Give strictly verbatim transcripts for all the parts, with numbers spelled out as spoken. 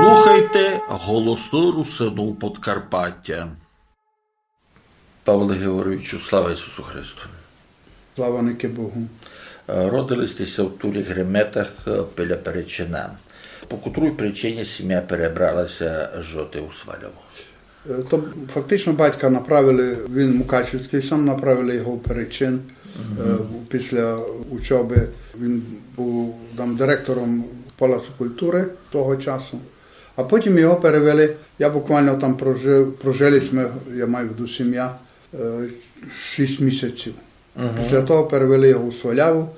Слухайте Голосы Русинув Подкарпатя. Павле Георгійовичу, слава Ісусу Христу! Слава ники Богу! Е, родили сьте ся в Туріх Реметах, е, біля Перечина. По котрій причині сімя перебрала ся жити у Сваляву? Е, то фактично батька направили, він мукачівськый, сам направили його в Перечин. Е, після учобы він быв там директором Палацу культуры того часу. А потім його перевели, я буквално там прожив, прожили сьме, я маю в виду сімя, е, шість місяців. Після того перевели його у Сваляву,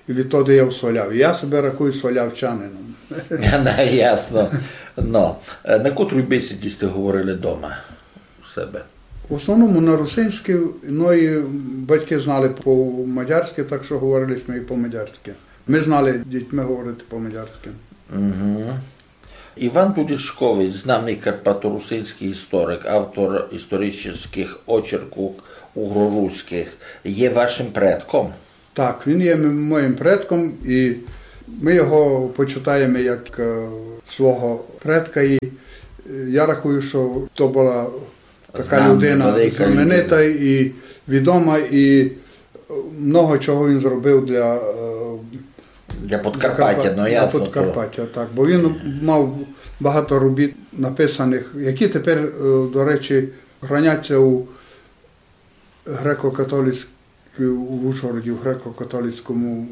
і відтоді я у Сваляві. Я себе рахую свалявчанином. Ясно. Но, е, на котрій бесіді сьте говорили дома у себе? В основному на русинській, но і батьки знали по-мадярськи, так што говорили сьме і по-мадярськи. Мы знали дітьми говорити по-мадярськи. Іван Дулішкович, знаный карпаторусинськый історик, автор історичных очеркув угроруськых, є вашым предком? Так, він є м-, моїм предком, і мы його почитаєме як, е, свого предка. І, е, я рахую, што то была така людина знаменита і відома, і, е, много чого він зробив для, е, для Подкарпатя, для Карпа-, ну, для ясно, то. Подкарпатя, так. Бо він мав багато робіт написаных, які тепер, е, до речі, храняться у греко-католицькій, у Ужгороді, в греко-католицькому,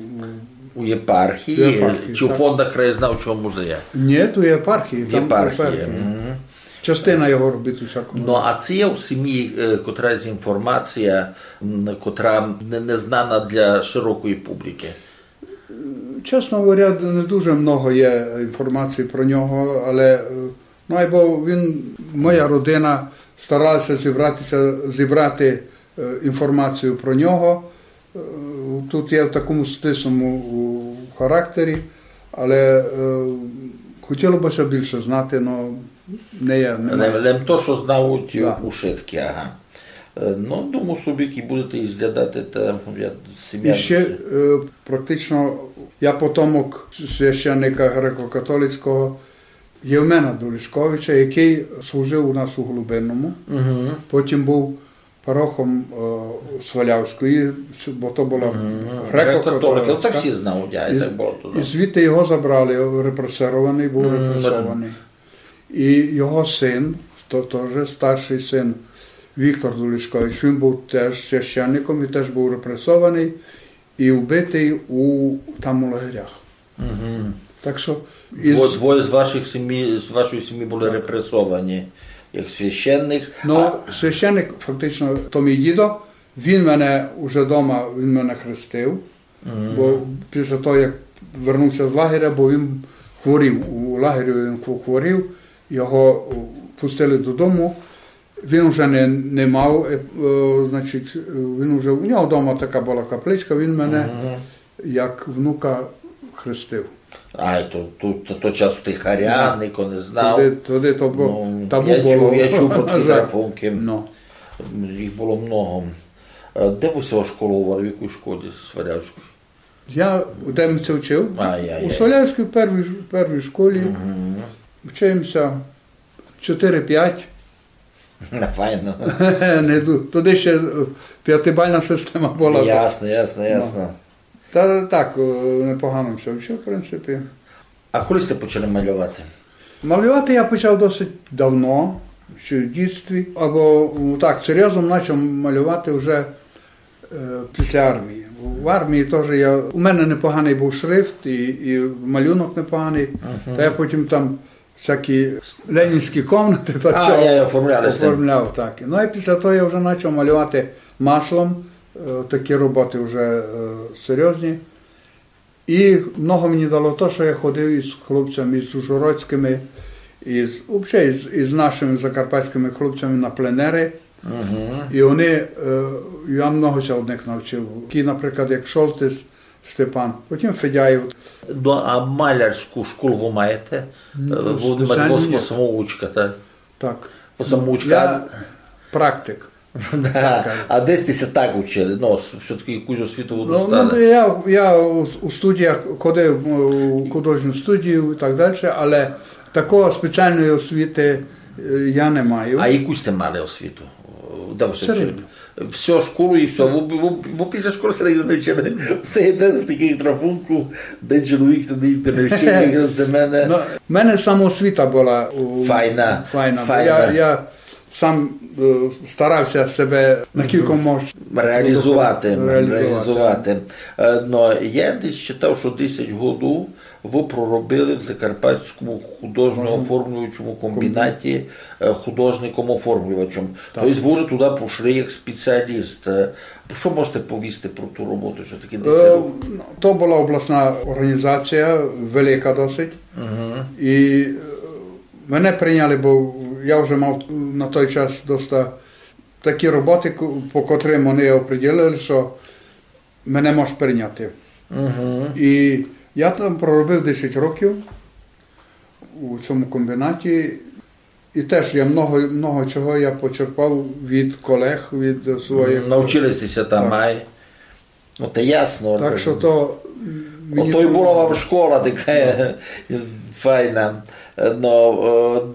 у єпархії, у єпархії, чи у фондах краєзнавчого музею? Ні, то єпархії, там єпархія. Частина його робіт у всякому. Ну, а ци є у сімї, е, котрась інформація, м, котра не, не знана для широкої публікы? Чесно говоря, не дуже много є інформації про нього, але, е, ну, айбо він, моя родина старалася зібратися, зібрати, е, інформацію про нього. Е, тут є в такому стислому, у, характері, але, е, хотіло бы ся більше знати, но не є, немає. Лем, лем то, што знають ушыткі, ага. Е, ну, думаю собі, як будете изглядати, та я, сімя... І ще, е, практично, я потомок священника греко-католицького Євмена Дулішковича, якый служив у нас у Голубинному. Потім быв парохом, е, Свалявської, бо то была греко-католицька. Греко-католицька, то всі знають, я і так бачу, і звідти його забрали, репресованый, быв репресованый. І його син, то тоже старшый син Віктор Дулішкович, він быв теж священником і теж быв репресованый і вбитый у, там у лагерях. Так што... Дво-, двоє з ваших сім'ї, з вашої сім'ї були репресовані як священник. Ну, а священник, фактично, то мій дідо, він мене уже дома, він мене хрестив, бо після того, як вернувся з лагеря, бо він хворів, у лагері він хво-, хворів, його, о, пустили додому. Він уже не, не мав, е, е, значить, він уже, у нього дома така была капличка, він мене як внука хрестив. А, то, то, то, то час тихаря, нико не знав. Тогды, тогды то бу-, табу было. Я чув, я чув про такі трафункы. Ну. Їх было много. Е, де вы ся ошколовали, в якій школі Свалявської? Я у Демця вчив. А, я, я. У Свалявській первій, первій школі. Вчив ся чотири-пять. Файно. Не ду-, тогды ще, е, пятибална система была. Ясно, ясно, ясно. Та так, е, непогано ся вчив, в принципі. А коли сьте почали малювати? Малювати я почав досить давно, ще в дітстві. Або, м, так, серйозно почав малювати вже, е, після армії. В армії теж я, у мене непоганий був шрифт і, і малюнок непоганий. Та я потім там всякі ленінські комнати та... А, всього я оформляли з тим. Оформляв, так. Ну, і після того я вже почав малювати маслом, е, такі роботи вже, е, серйозні. І много мені дало то, що я ходив із хлопцями, із ужгородськими, із, вообще із, із нашими закарпатськими хлопцями на пленери. І вони, е, я много ся од них навчив. Такі, наприклад, як Шолтис Степан, потім Федяєв. Ну, а малярську школу вы маєте? Е, вы спеціально ні. Самоучка, так? Так. Вы самоучка. Я практик. Да. А де сьте ся так учили? Ну, с-, всьо-таки якусь освіту вы достали. Ну, я, я у, у студіях ходив, у художню студію і так далі, але Такої спеціальної освіти е, я не маю. А яку сте мали освіту? Де ви все вчили? Всю школу і все. Бо, бо, бо після школи ся нигде не вчили. Все єден з таких трафунків, де чоловік сидить, де не вчив, як з мене. Ну, в мене самоосвіта була у- Файна, файна. Бо файна. Я, я сам е, старався себе на кілько мож Реалізувати, реалізувати. Е, Но я десь читав, що десять году ви проробили в Закарпатському художньо-оформлюючому комбінаті е, художником-оформлювачем. Тобто ви вже туди пішли як спеціаліст. Е, Що можете повісти про ту роботу, що таке Е, десять років? Ну, то була обласна організація, велика досить. І е, мене прийняли, бо я вже мав на той час доста такі роботи, ко- по котрим вони оприділили, що мене можуть прийняти. І я там проробив десять років у цьому комбінаті. І теж я много, много чого я почерпав від колег, від своїх. Навчили сте ся там, Так. Ай? Ну, то ясно. Так що то, м, мені Ото й там була вам школа така файна. Но, е,